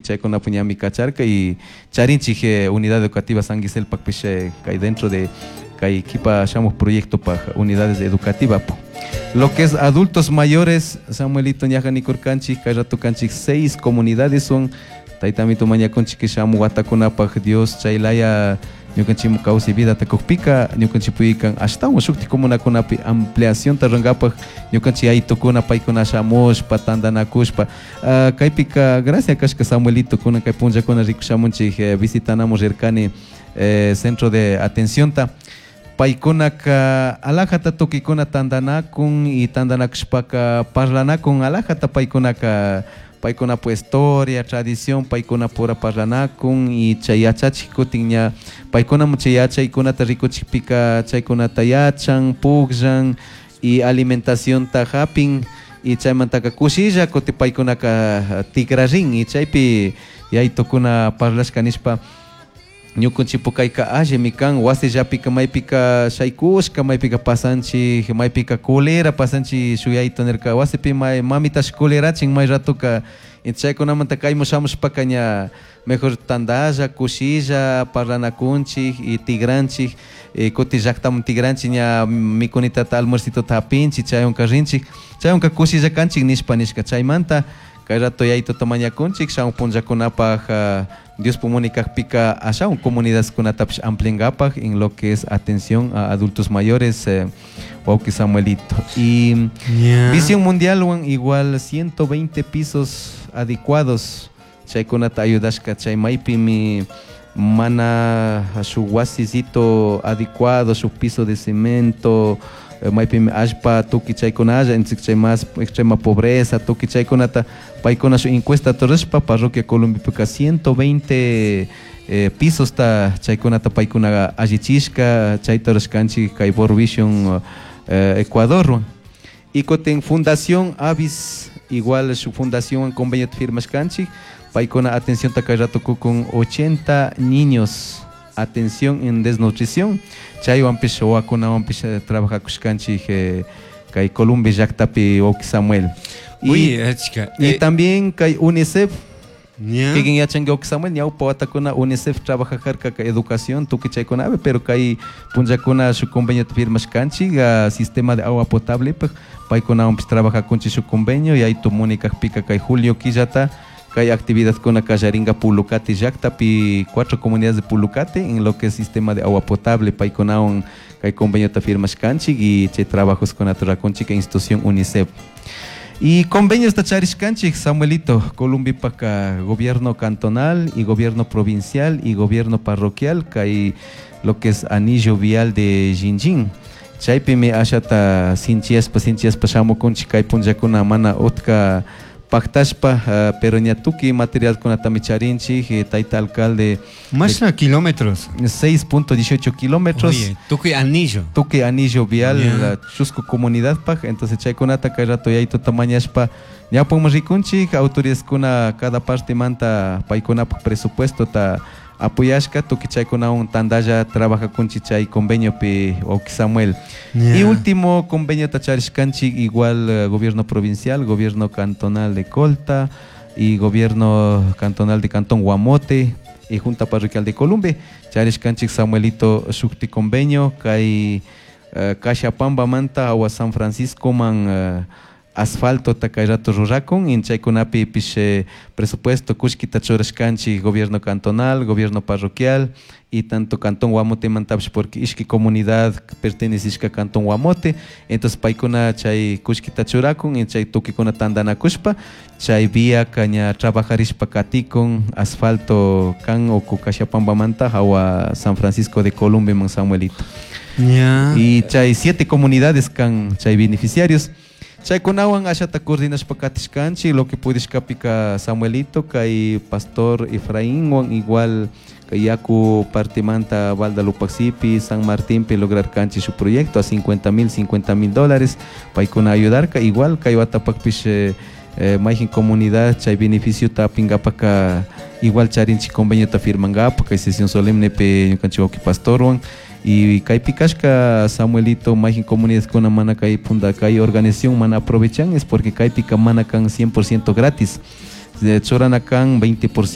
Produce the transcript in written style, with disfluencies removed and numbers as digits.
Chaykunapi ñami kacharka y charinchik unidad educativa San Giselpakpish kay dentro de kay kipa shamuj proyectopaj unidades educativa. Lo que es adultos mayores, Samuelito, ñaja nikurkanchik, kay rato kanchik seis comunidades son. Taytamito mañakunchik shamuj watakunapaj Dios chaylaya ñukanchikmu kawsay vidata kukpika ñukanchik puykan ashtawan shuktik comunakunapi ampliacionta rurankapak ñukanchik yayitukuna paykuna shamushpa tantanakushpa. Kaypika gracia kashka, Samuelito, kunan kay punllakuna rikushamunchik, visitanamun rirkani centro de atencionta. Paykunaka alajata tukuykuna tantanakun y tantanakushpaka parlanakun alajata paykunaka paykunapa historia, tradición, paykunapura parlanakun y chay yachachik kutin ña paykunamun chay yachaykunata rikuchikpika chaykunata yachan, pukllan y alimentacionta hapin y chaymantaka kushilla kutin paykunaka tikrarin. Y chaypi yayitukuna parlashka nishpa ñukanchikpu kayka allimi kan wasillapika maypika shaykushka, maypika pasanchik, maypika culera pasanchik. Shuk yayito nirka wasipi may mamitash culerachin may ratoka. Chaykunamanta kaymun shamushpaka ña mejor tandalla, kushilla parlanakunchik y tigranchik, kutin llaktaman tigranchik, ña mikunitata, almuercitota hapinchik, chaywanka rinchik, chaywanka kushilla kanchik nishpa nishka. Chaymanta kay rato yayituta mañakunchik shamuj punllakunapak Dios munay kakpika ashawan comunidadkunatapish ampliankapak en lo que es atención a adultos mayores, wawki Samuelito. Y Visión Mundialwan igual 120 pisos adecuados chaykunata ayudashka chay maypimi mana shuk wasisito adecuado, shuk piso de cemento, maypimi allpa tukuy chaykunalla, entonces chay más extrema pobreza, tukuy chaykunata paykuna shuk encuesta rurashpa parroquia Columbipika 120 pisosta chaykunata paykuna allichishka. Chayta rurashkanchik kay World Vision Ecuadorwan. Y kutin Fundación Avis, igual shuk fundación convenio firmashkanchik, paykuna atención kay rato kukun 80 niños atención en desnutrición. Chaywanpish wawakunawanpish trabajakushkanchik kay Columbia llaktapi, wawki Samuel. Y, Uy, achka. y también kay UNICEF. ¿Ya? Kikin yachanki, wawki Samuel, ñawpa watakuna UNICEF trabajajarka kay educación tukuy chaykunapi, pero kay punllakuna shuk convenio firmashkanchik sistema de agua potable paykunawanpish trabajakunchik shuk convenio. Yaytu munay kakpika kay julio killata kay actividadkuna kallarinka Pulucate llaktapi, cuatro comunidades de Pulucate, en lo que es sistema de agua potable. Paykunawan kay conveniota firmashkanchik y chay trabajoskunata rurakunchik institución UNICEF. Y convenios charishkanchik, Samuelito, Columbipaka gobierno cantonal y gobierno provincial y gobierno parroquial, kay lo que es anillo vial de Jinjin. Chaypimi ashata sinchiyashpa sinchiyashpa shamukunchik kay punllakuna mana utka paktashpa, pero ña tukuy materialkunatami charinchik, tayta alcalde. Mashna kilómetros? 6.18 kilómetros. Oye, tukuy anillo. Tukuy anillo vial, chusku comunidadpaj. Entonces chaykunata kay rato yayituta mañashpa ñawpakman rikunchik. Autoridadkuna cada partemanta paykunapak presupuestota apoyashka, tukuy chaykunawan tandalla trabajakunchik chay conveniopi, wawki Samuel. Y último convenio charishkanchik igual gobierno provincial, gobierno cantonal de Colta y gobierno cantonal de Cantón Guamote y Junta Parroquial de Columbe. Charishkanchik, Samuelito, shukti convenio kay Cashapambamanta awa San Francisco man asfalto kay rato rurakun y chaykunapi pish presupuesto kullkita churashkanchik gobierno cantonal, gobierno parroquial y tanto Cantón Guamote mantapish, porque ishki comunidad pertenecishka Cantón Guamote. Entonces paykuna chay kullkita churakun y chay tukuykuna tandanakushpa chay vía ña trabajarishpa katikun asfalto kan uku Cashapambamanta hawa San Francisco de Columbia man, Samuelito. Y chay siete comunidades kan chay beneficiarios. Chaykunawan ashata coordinashpa katishkanchik lo que pudishkapika, Samuelito. Kay pastor Efraínwan igual kay yaku partimanta Balda Lupaxipi, San Martinpi lograrkanchik su proyecto a 50 mil, 50 mil dólares paykuna ayudarka. Igual kay watapakpish mayjin comunidad chay beneficiota apingapaka igual charinchik conveniota firmankapak kay sesión solemnepi ñukanchik wawki pastorwan. Y kaypi kashka, Samuelito, mayjin comunidadkuna mana kay punda kay organización mana aprovechan es porque kaypika mana kan 100% gratis, churana kan 20%.